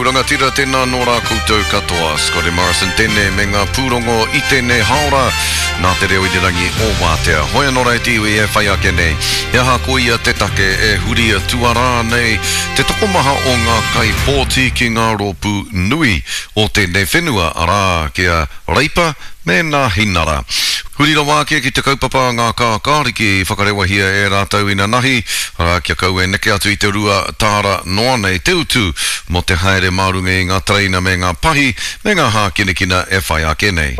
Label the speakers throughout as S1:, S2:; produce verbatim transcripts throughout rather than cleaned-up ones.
S1: aku rangatira, tēnā nō rā koutou katoa. Scotty Morrison tēnei me ngā pūrongo i tēnei haora nā te reo irirangi o Wātea. Hoi anō rā e te iwi e whai ake nei. He aha koia te take e huri tuarā nei te tokomaha o ngā kaipōti ki ngā rōpū nui o tēnei whenua, arā, ki a Reipa me Nāhinara. Huri rawa ake ki te kaupapa a ngā kākāriki i whakarewahia e rātou inanahi, arā, kia kaua e neke atu i te rua tāra noa nei te utu mō te haere mā runga i ngā tereina me ngā pahi me ngā hākinakina e whai ake nei.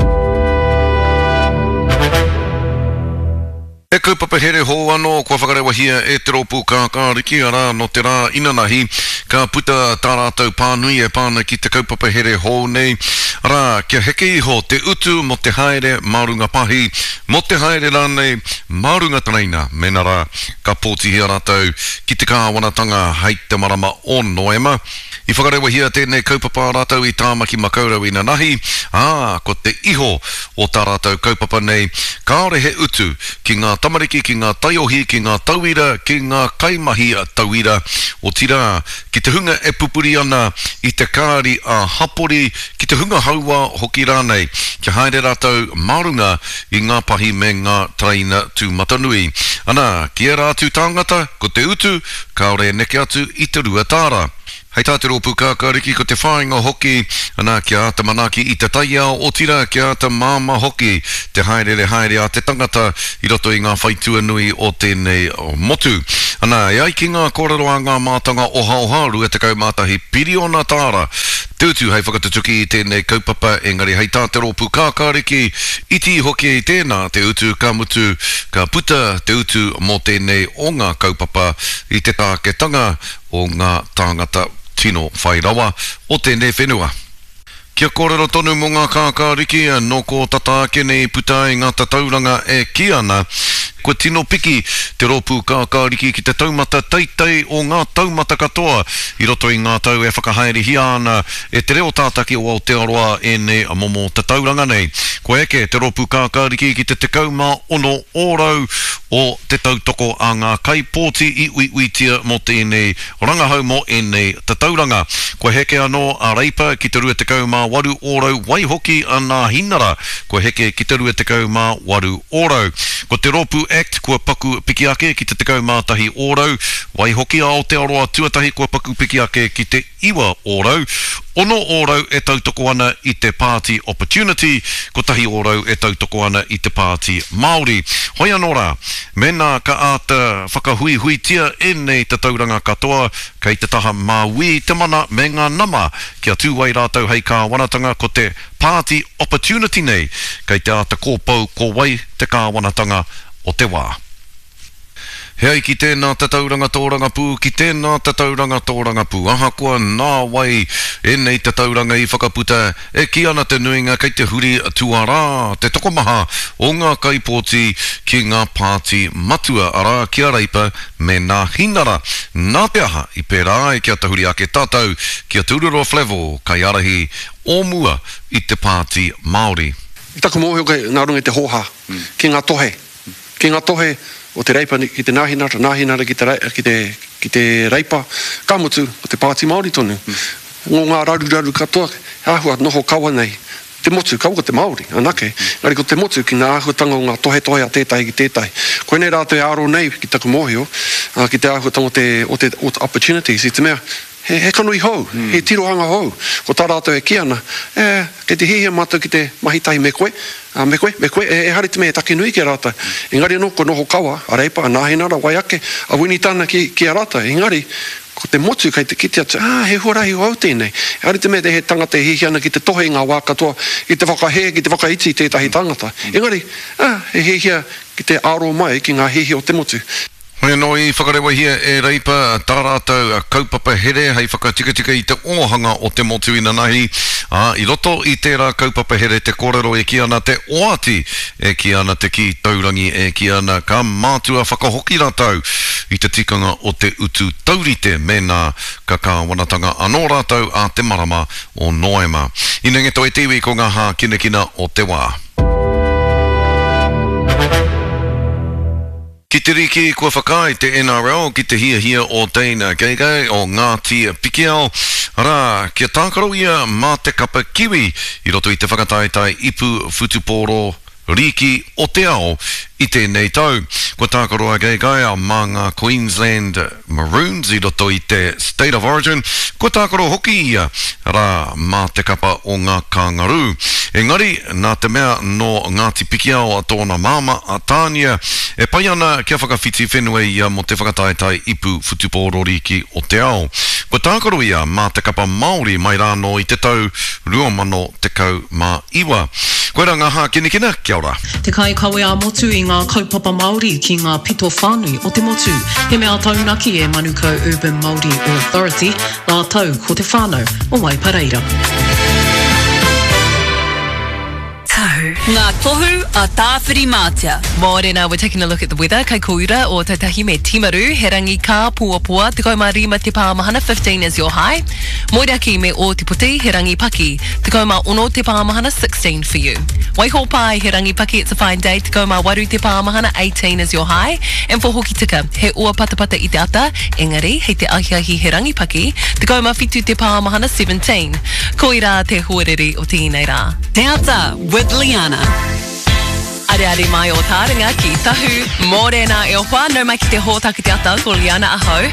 S1: He kaupapa here hou anō kua whakarewahia e te rōpū kākāriki, arā, nō te rā inanahi ka puta tā rātou pānui e pā ana ki te kaupapa here hou nei, arā, kia heke iho te utu mō te haere mā runga pahi, mō te haere rānei mā runga tereina, mēnā rā ka pōtihia rātou ki te kāwanatanga hei te marama o Noema. I whakarewahia tēnei kaupapa a rātou i Tāmaki Makaurau inanahi, ā, ko te iho o tā rātou kaupapa nei, kāore he utu ki ngā tamariki, ki ngā taiohi, ki ngā tauira, ki ngā kaimahi tauira, otirā, ki te hunga e pupuri ana i te kāri ā-hapori, ki te hunga hauā hoki rānei, kia haere rātou mā runga i ngā pahi me ngā tereina tūmatanui. Ana, ki ērā atu tāngata, ko te utu, kāore e neke atu i te rua tāra. Hei tā te rōpū kākāriki ko te whāinga hoki, ana, kia āta manaaki i te taiao, otirā kia āta māmā hoki te haereere haere a te tangata i roto i ngā whaitua nui o tēnei motu. Ana, e ai ki ngā kōrero a ngā mātanga ohaoha, rua tekau mā tahi piriona tāra te utu hei whakatutuki i tēnei kaupapa, engari hei tā te rōpū kākāriki, iti hoki tēnā te utu, ka mutu, ka puta te utu mō tēnei o ngā kaupapa i te tāketanga o ngā tāngata tino whai rawa o tēnei whenua. Kia kōrero tonu mō ngā kākāriki, nō kō tata ake nei i puta ai ngā tatauranga e kī ana, kua tino piki te rōpū kākāriki ki te taumata teitei o ngā taumata katoa i roto i ngā tau e whakahaerehia ana e Te Reo Tātaki o Aotearoa ēnei momo tatauranga nei. Kua eke te rōpū kākāriki ki te tekau mā ono ōrau o te tautoko a ngā kaipōti i uiuitia mō tēnei rangahau mō ēnei tatauranga. Kua heke anō a Reipa ki te rua tekau mā waru ōrau, waihoki a Nāhinara kua heke ki te rua tekau mā waru ōrau. Ko te rōpū act kua paku piki ake ki te tekau mā tahi ōrau, waihoki a Aotearoa Tuatahi kua paku piki ake ki te iwa ōrau, ono ōrau e tautoko ana i te Pāti Opportunity, kotahi ōrau e tautoko ana i te Pāti Māori. Hoi anō rā, mēnā ka āta whakahuihuitia ēnei tatauranga katoa, kei te taha māui te mana me ngā nama kia tū ai rātou hei kāwanatanga, ko te Pāti Opportunity nei kei te āta kōpou ko wai te kāwanatanga o te wā. He ai ki tēnā tatauranga tōrangapū, ki tēnā tatauranga tōrangapū, ahakoa nā wai ēnei tatauranga i whakaputa, e kī ana te nuinga kei te huri tuarā te tokomaha o ngā kaipōti ki ngā pāti matua, arā, ki a Reipa me Nāhinara. Nā te aha i pērā ai kia tahuri ake tātou ki a Te Ururoa Flavell, kaiārahi o mua i te Pāti Māori.
S2: I taku mōhio kei nā runga i te hōhā, ki ngā tohe, ki ngā tohe o te Reipa ki te Nāhinara, Nāhinara ki te, ki te, ki te Reipa, ka mutu, ko te Pāti Māori tonu. Ngō ngā raruraru katoa, he āhua noho kawa nei te motu, kaua ko te Māori anake, engari ko te motu ki ngā āhuatanga o ngā tohetohe a tētahi ki tētahi. Koinei rātou e aro nei, ki taku mōhio, ki te āhuatanga o te, o te, o te opportunities, i te mea, he, he kanohi hou, he tirohanga hou. Ko tā rātou e kī ana, e, kei te hiahia mātou ki te mahi tahi me koe, Ā, me koe, me koe, e, ehara i te mea he take nui ki a rātou. Engari anō, kua noho kawa a Reipa, a Nāhinara, wai ake, a Winitana ki, ki a rātou. Engari, ko te motu kei te kite atu, ā, he huarahi hou tēnei. Ehara i te mea he tangata e hiahia ana ki te tohe i ngā wā katoa, ki te whakahē, ki te whakaiti i tētahi tangata. Engari, ā, he hiahia ki te aro mai ki ngā hiahia o te motu.
S1: Hoi anō i whakarewahia e Reipa tā rātou kaupapa here hei whakatikatika i te ōhanga o te motu inanahi, ā, i roto i tērā kaupapa here te kōrero e kī ana te oati, e kī ana te kī taurangi, e kī ana ka mātua whakahoki rātou i te tikanga o te utu taurite mēnā ka kāwanatanga anō rātou ā te marama o Noema. Inengeto e te iwi ko ngā hākinakina o te wā. Ki te riki, kua whakaae te N R L ki te hiahia o Dane Gagai o Ngāti Pikiao, Arā, kia tākaro ia mā te kapa Kiwi i roto i te whakataetae ipu whutupōro rīki o te ao i tēnei tau. Kua tākaro a Gagai mā ngā Queensland Maroons i roto i te State of Origin, kua tākaro hoki ia rā mā te kapa o ngā Kangaroo. Engari, nā te mea nō Ngāti Pikiao a tōna māmā a Tānia, e pai ana kia whakawhiti whenua ia mō te whakataetae ipu whutupōro rīki o te ao. Kua tākaro ia mā te kapa Māori mai rānō i te tau rua mano tekau mā iwa. Koirā ngā hākinakina, kia ora.
S3: Te kaikawe ā-motu i ngā kaupapa Māori ki ngā pito whānui o te motu. He mea taunaki e Manukau Urban Māori Authority, rātou ko te whānau o Waipareira.
S4: Tahu. Ngā tohu a Tāwhirimātea.
S5: Mōrena, we're taking a look at the weather. Kei Koura, Ōtautahi me Timaru, he rangi kāpoapoa, tekau mā rima te pāmahana, fifteen is your high. Moeraki me Ōtepoti, he rangi paki, tekau mā ono te pāmahana, sixteen for you. Waihōpai, he rangi paki, it's a fine day, tekau mā waru te pāmahana, eighteen is your high. And for Hokitika, he ua patapata i te ata, engari, hei te ahiahi he rangi paki, tekau mā whitu te pāmahana, seventeen. Koirā te hoariri o tēnei rā.
S4: Te Ata with Liana.
S5: Areare mai o tāringa ki Tahu. Mōrena e hoa, nau mai ki te hōtaka Te Ata, ko Liana ahau.